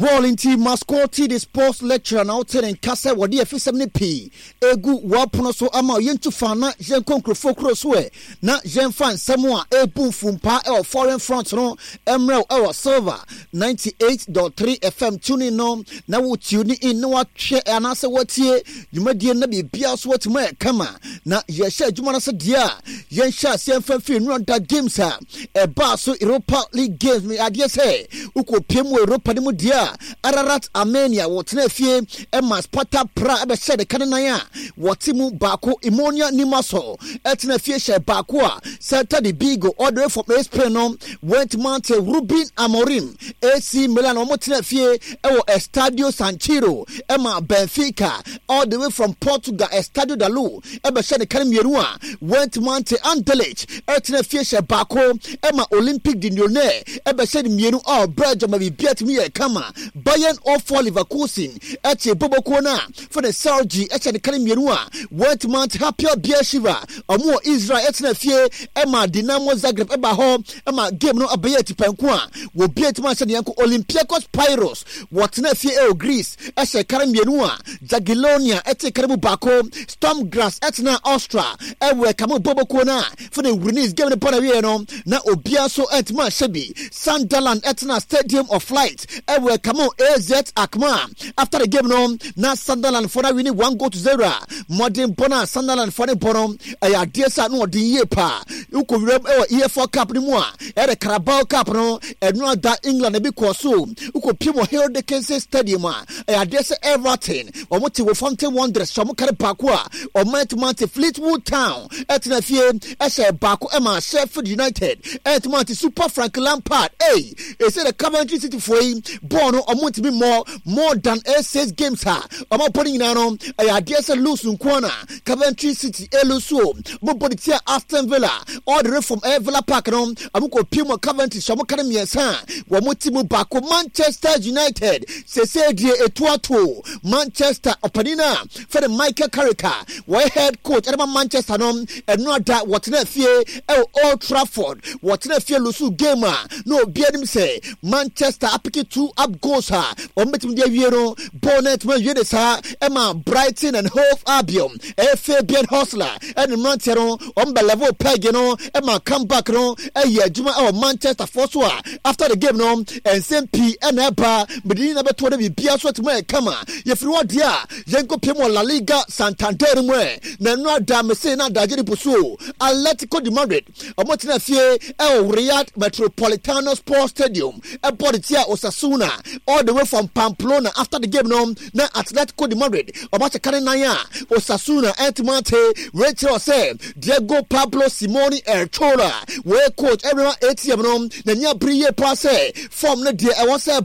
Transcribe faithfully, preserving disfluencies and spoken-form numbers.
Well, nti Mascoti the sports lecturer na wote ne nka sɛ wɔde afisɛm no pii egu wɔapono so ama yɛntu fa na yɛnkɔ nkurɔfoɔ kuro so ɛ na yɛmfa nsɛm a ɛbu mfumpa ɛwɔ foreign front no mmerɛw ɛwɔ Silver ninety-eight point three F M. Tuning no na wo tune in na wahwɛ anaasɛ watie dwumadie na biribiara so watumi ayɛ kama. Na yɛhyɛ adwuma no sɛ deɛ a yɛnhyɛ aseɛ mfa mfiri nnura games a ɛbaa so, Europa League games. Me adeɛ sɛ wokɔpie mu wɔ Europa no mu deɛ a, Ararat Armenia wɔtena fie ɛma Sparta Prague ɛbɛhyɛ de ka ne nan a wɔte mu baako. Omonia Limassol ɛtena fie hyɛ baako a Celta de Vigo all the way from Spain no went mante Ruben Amorim. A C Milan wɔn tena fie ɛwɔ Estadio San Siro ɛma Benfica all the way from Portugal, Estadio da Luz, ɛbɛhyɛ ne ka no mmienu a went mante. Anderlecht ɛtena fie hyɛ baako ɛma Olympique de Lyonnais ɛbɛhyɛ ne mmienu a Belgium ma biribi atumi yɛ kama. Bayer zero four Leverkusen ɛkye bobokuo no a fɛde Celje ɛhyɛ ne ka no mmienu a went mante. Hapoel Beersheva, ɔmo wɔ Israel, ɛtena fie ɛma Dinamo Zagreb ɛba hɔ ɛma game no abɛyɛ atipanko a wɔbi atumi ahyɛ ne yɛnko. Olympiacos Piraeus wɔtena fie ɛwɔ Greece ɛhyɛ kare mmienu a Jagiellonia ɛte kare mu baako. Sturm Graz ɛtena Austria ɛwɔ ɛkame bobokuo no a fɛde Rennes game no bɔ na wie no na obiara nso ɛntumi ahyɛ bi. Sunderland ɛtena Stadium of Light ɛwɔ ɛkame A Z Alkmaar. After the game no na Sunderland fo no awin one goal to zero a mmɔden bɔ no a Sunderland fo no bɔ no ɛyɛ adeɛ sɛ ano ɔden yie paa. Wokɔ wuram ɛwɔ E F L Cup no mu a, ɛyɛ Carabao Cup no, ɛno ada England ebi kɔ so. Wokɔ pie mu Hill Dickinson Stadium a, ɛyɛ adeɛ sɛ Everton wɔn te Wolverhampton Wanderers hyɛ wɔn kare baako a ɔman tumante. Fleetwood Town ɛtena fie ɛhyɛ baako ɛma Sheffield United ɛtumante. Super Frank Lampard ɛy ɛsɛ the Coventry City foɔ yi bɔɔl no ɔmo ntumi mmɔ more than eight six games a ɔmo abɔ no nyinaa no, ɛyɛ adeɛ sɛ lose nko na Coventry City ɛlose o. Ɔmo bɔ de tia Aston Villa all the way from ɛyɛ Villa Park no, ɔmo kɔ pie mu Coventry hyɛ ɔmo kare mmiɛnsa a wɔn ti mu baako. Manchester United sese deɛ etu ato Manchester ɔpanin a fɛde Michael Carrick a wɔyɛ head coach ɛde ma Manchester no, ɛno ada wɔtena fie ɛwɔ Old Trafford, wɔtena fie lose game a na obi anim sɛ Manchester apick two up goals a wɔn bɛtumi de awie no bɔɔl no ɛtumi awie de saa ɛma Brighton and Hove Albion, ɛyɛ Fabian Hurzeler ɛne mmeranteɛ no wɔn bɛ level peg no ɛma comeback no ɛyɛ adwuma ɛwɔ Manchester foɔ so a after the game no nsɛm pii ɛna ɛba mede nyina bɛtoɔ no biribiara so atumi ayɛ kama. Yɛfiri hɔ deɛ a yɛnkɔ pie mu wɔ La Liga Santander mu ɛ na ɛno ada mese na adagye ne po so. Atletico de Madrid ɔmo tena fie ɛwɔ Wanda Metropolitano Sports Stadium ɛbɔ de tia Osasuna all the way from Pamplona. After the game no na Atletico de Madrid ɔmo akyɛ kane nan a Osasuna ɛntumi ate. Wei kyerɛ sɛ Diego Pablo Simeone El Cholo, wei coach ɛrema atm no n'ani abere yie paa sɛ form no deɛ ɛwɔ sɛ